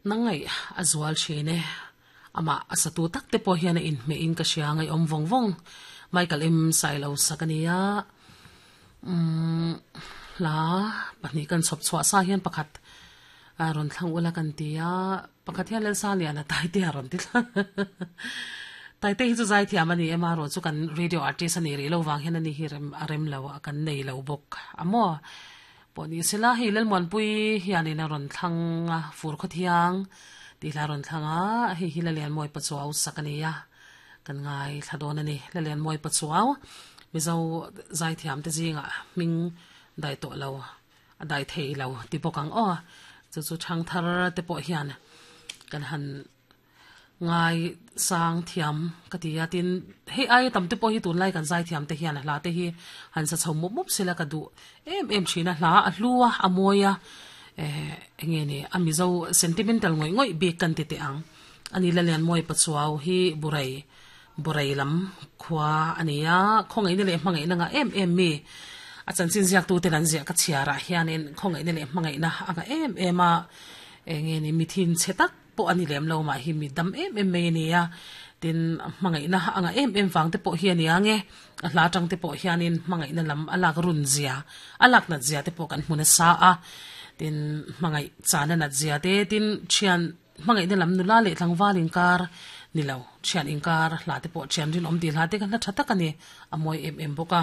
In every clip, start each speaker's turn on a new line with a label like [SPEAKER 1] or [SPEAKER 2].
[SPEAKER 1] Nangaih a zual thin e. Amah a satu tak te pawh hian a inhmeh in ka hria ngaihawm vawng vawng. Michael M Sailo sak a nia. Umm hla pahnih kan chhawp chhuah sa hian pakhat a rawn thlang ula kan ti a, pakhat hian Lalsa Liana Taite a rawn ti thlang. Taite hi chu zaithiam a ni em a, erawh chu kan radio artist a nih rih lo vang hian ani hi rem a rem lo a kan nei lo bawk a maw. Pawh ni sela hei Lalmuanpui hianin a rawn thlang a, fur khawthiang tih hla a rawn thlang a, hei hi Lalianmawi Pachuau sak a ni a, kan ngaithla dawn a ni. Lalianmawi Pachuau Mizo zaithiam te zingah hming dai tawh lo, a dai thei lo ti bawk ang aw. Chu chu thangthar te pawh hian kan han Ngai sang thiam ka ti a, tin hei aia tam te pawh hi tunlai kan zai thiam te hian a hla te hi han sa chho mup mup sela ka duh em em thin a, hla a hlu a, a mawi a, eh eng nge ni a Mizo sentimental ngawih ngawih bik kan ti teh ang. Ani Lalianmawi Pachuau hi Burai Burai lam khua a ni a, khawngaihna leh hmangaihna ngah em em mi a chanchin ziaktu ten an ziah ka chhiarah hianin khawngaihna leh hmangaihna a ngah em em a, eng nge ni mi thinchhe tak pawh a ni lem lo mah hi mi dam em em mai a ni a, tin hmangaihna a ngah em em vang te pawh hi a ni ang e, a hla atang te pawh hianin hmangaihna lam a lak run zia, a lak nat zia te pawh kan hmu nasa a, tin hmangaih chana nat zia te, tin thian hmangaihna lam nula leh tlangval inkar ni lo, thian inkar hla te pawh thian rinawm tih hla te kha hla tha tak a ni, a mawi em em bawk a,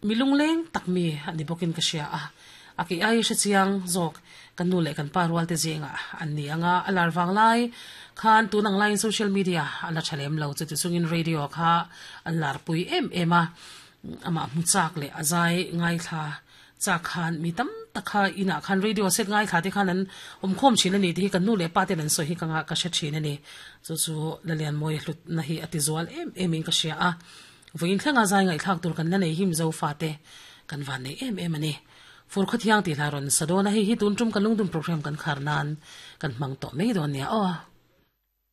[SPEAKER 1] mi lungleng tak mi a ni bawkin ka hria a. A kei ai hre chiang zawk kan nu leh kan pa rual te zingah an ni ang a, a lar vang lai khan tun ang laiin social media a la tha lem lo chuti chungin radio kha an lar pui em em a, amah hmu chak leh a zai ngaithla chak khan mi tam tak kha inah khan radio set ngaithla te khan an awm khawm thin a ni tih hi kan nu leh pa ten an sawi hi ka ngah ka hre thin a ni. Chu chu Lalianmawia hlutna hi a ti zual em em in ka hria a. Vawiin thlenga zai ngaihthlak tur kan la nei hi Mizo fate kan van nei em em a ni. Fur khawthiang tih hla rawn sa dawn a, hei hi tun tum kan lungdum program kan khar nan kan hmang tawh mai dawn nia aw.